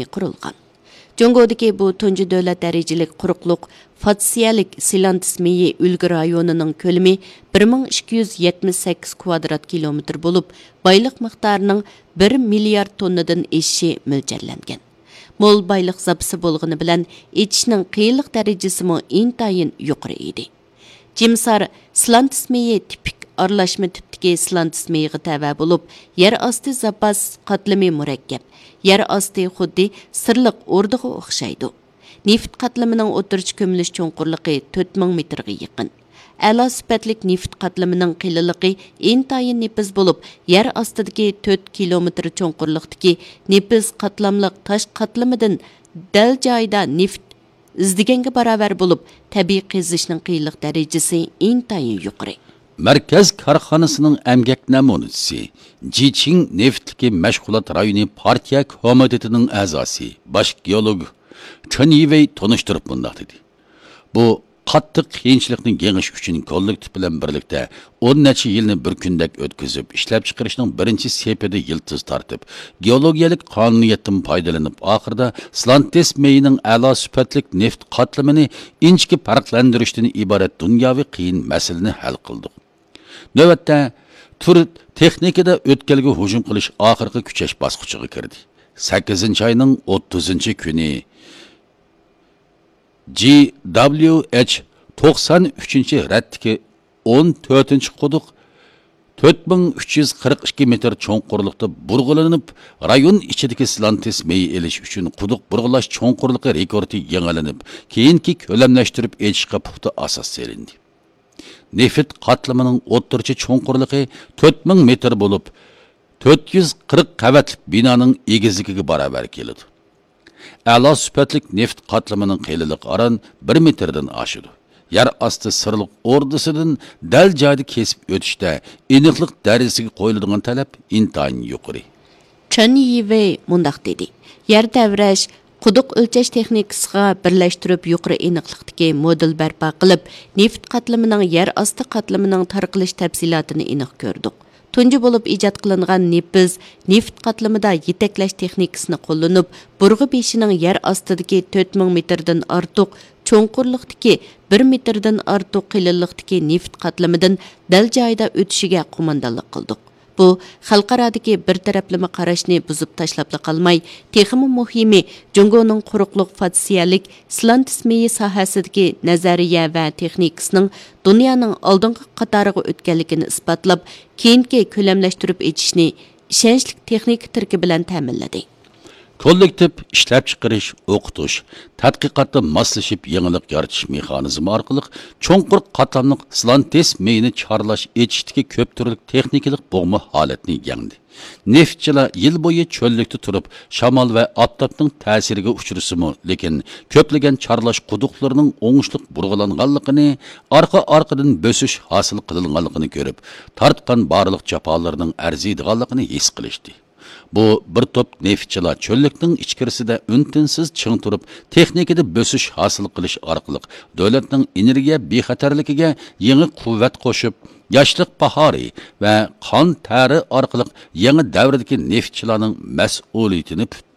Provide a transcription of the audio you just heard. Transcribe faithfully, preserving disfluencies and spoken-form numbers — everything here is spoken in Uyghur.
قۇرۇلغان. جۇڭگودىكى بۇ تۇنجى دۆلەت دەرىجىلىك قۇرۇقلۇق فاتسىيەلىك سىلانتىس مېيى ئۈلگە رايونىنىڭ كۆلىمى بىر مىڭ ئىككى يۈز يەتمىش سەككىز كۋادرات كىلومېتىر بولۇپ، بايلىق مىقدارىنىڭ بىر مىليارد توننىدىن ئېشىشى مۆلچەرلەنگەن. مول بايلىق زاپىسى بولغىنى بىلەن، ئېچىشنىڭ قىيىنلىق دەرىجىسىمۇ ئىنتايىن يۇقىرى ئىدى. جىمسار سلانتىس مېيى تىپىك ئارىلاشما تىپتىكى سلانتىس مېيىغا تەۋە بولۇپ، يەر ئاستى زاپاس قاتلىمى مۇرەككەپ. يەر ئاستى خۇددى سىرلىق ئوردىغا ئوخشايدۇ. نېفىت قاتلىمىنىڭ ئوتتۇرىچە كۆمۈلۈش چوڭقۇرلۇقى تۆت مىڭ مېتىرغا يېقىن. ئەلا سۈپەتلىك نېفىت قاتلىمىنىڭ قېلىنلىقى ئىنتايىن نېپىز بولۇپ، يەر ئاستىدىكى تۆت كىلومېتىر چوڭقۇرلۇقتىكى نېپىز قاتلاملىق تاش قاتلىمىدىن دەل جايىدا نېفىت ئىزدىگەنگە باراۋەر بولۇپ، تەبىئىي قېزىشنىڭ قىيىنلىق دەرىجىسى ئىنتايىن يۇقىرى. مەركەز كارخانىسىنىڭ ئەمگەك نەمۇنىچىسى، جىچىڭ نېفىتلىكى مەشغۇلات رايونى پارتىيە كومىتېتىنىڭ ئەزاسى، باش گېئولوگ چېن يىۋېي تونۇشتۇرۇپ مۇنداق دېدى: بۇ قاتتىق قىيىنچىلىقنى يېڭىش ئۈچۈن كوللېكتىپ بىلەن بىرلىكتە ئون نەچچە يىلنى بىر كۈندەك ئۆتكۈزۈپ، ئىشلەپچىقىرىشنىڭ بىرىنچى سېپىدە يىلتىز تارتىپ، گېئولوگىيەلىك قانۇنىيەتتىن پايدىلىنىپ، ئاخىرىدا سلانتېس مېيىنىڭ ئەلا سۈپەتلىك نېفىت قاتلىمىنى ئىنچىكە پەرقلەندۈرۈشتىن ئىبارەت دۇنياۋى قىيىن مەسىلىنى ھەل قىلدۇق. نۆۋەتتە، تۈر تېخنىكىدا ئۆتكەلگە ھۇجۇم قىلىش ئاخىرقى كۈچەش باسقۇچىغا كىردى. سەككىزىنچى ئاينىڭ ئوتتۇزىنچى كۈنى، جى دابليۇ ئېچ توقسان ئۈچىنچى رەتتىكى ئون تۆتىنچى قۇدۇق تۆت مىڭ ئۈچ يۈز قىرىق ئىككى مېتىر چوڭقۇرلۇقتا بۇرغىلىنىپ، رايون ئىچىدىكى سلانتېس مېيى ئېلىش ئۈچۈن قۇدۇق بۇرغىلاش چوڭقۇرلۇقى رېكورتى يېڭىلىنىپ، كېيىنكى كۆلەملەشتۈرۈپ ئېچىشقا پۇختا ئاساس سېلىندى. نېفىت قاتلىمىنىڭ ئوتتۇرىچە چوڭقۇرلۇقى تۆت مىڭ مېتىر بولۇپ، تۆت يۈز قىرىق قەۋەتلىك بىنانىڭ ئېگىزلىكىگە باراۋەر كېلىدۇ. ئەلا سۈپەتلىك نېفىت قاتلىمىنىڭ قېلىنلىقى ئاران بىر مېتىردىن ئاشىدۇ. يەر ئاستى سىرلىق ئوردىسىدىن دەل جايىدا كېسىپ ئۆتۈشتە ئېنىقلىق دەرىجىسىگە قويۇلىدىغان تەلەپ ئىنتايىن يۇقىرى. چېن يىۋېي مۇنداق دېدى: يەر تەۋرەش، قۇدۇق ئۆلچەش تېخنىكىسىغا بىرلەشتۈرۈپ، يۇقىرى ئېنىقلىقتىكى مودېل بەرپا قىلىپ، نېفىت قاتلىمىنىڭ يەر ئاستى قاتلىمىنىڭ تارقىلىش تەپسىلاتىنى ئېنىق كۆردۇق. تۇنجى بولۇپ ئىجاد قىلىنغان نېپىز نېفىت قاتلىمىدا يېتەكلەش تېخنىكىسىنى قوللىنىپ، بۇرغا بېشىنىڭ يەر ئاستىدىكى تۆت مىڭ مېتىردىن ئارتۇق، چوڭقۇرلۇقتىكى بىر مېتىردىن ئارتۇق قېلىنلىقتىكى نېفىت قاتلىمىدىن دەل جايىدا ئۆتۈشىگە قوماندانلىق قىلدۇق. بۇ خەلقئارادىكى بىر تەرەپلىمە قاراشنى بۇزۇپ تاشلاپلا قالماي، تېخىمۇ مۇھىمى، جۇڭگونىڭ قۇرۇقلۇق فاتسىيەلىك سلانتېس مېيى ساھەسىدىكى نەزەرىيە ۋە تېخنىكىسىنىڭ دۇنيانىڭ ئالدىنقى قاتارىغا ئۆتكەنلىكىنى ئىسپاتلاپ، كېيىنكى كۆلەملەشتۈرۈپ ئېچىشنى ئىشەنچلىك تېخنىكا تىركى بىلەن تەمىنلىدى. كوللېكتىپ ئىشلەپچىقىرىش، ئوقۇتۇش، تەتقىقاتتا ماسلىشىپ يېڭىلىق يارىتىش مېخانىزمى ئارقىلىق چوڭقۇر قاتلاملىق سلانتېس مېيىنى چارلاش ئېچىشتىكى كۆپ تۈرلۈك تېخنىكىلىق بوغما ھالەتنى يەڭدى. نېفىتچىلار يىل بويى چۆللۈكتە تۇرۇپ، شامال ۋە ئاپتاپنىڭ تەسىرىگە ئۇچرىسىمۇ، لېكىن كۆپلىگەن چارلاش قۇدۇقلىرىنىڭ ئوڭۇشلۇق بۇرغىلانغانلىقىنى، ئارقا-ئارقىدىن بۆسۈش ھاسىل قىلىنغانلىقىنى كۆرۈپ، تارتقان بارلىق جاپالىرىنىڭ ئەرزىيدىغانلىقىنى ھېس قىلىشتى. بۇ بىر توپ نېفىتچىلار چۆللۈكنىڭ ئىچكىرىسىدە ئۈن-تىنسىز چىڭ تۇرۇپ، تېخنىكىدا بۆسۈش ھاسىل قىلىش ئارقىلىق دۆلەتنىڭ ئېنېرگىيە بىخەتەرلىكىگە يېڭى قۇۋۋەت قوشۇپ، ياشلىق باھارى ۋە قان تەرى ئارقىلىق يېڭى دەۋردىكى نېفىتچىلارنىڭ مەسئۇلىيىتىنى پۈت-،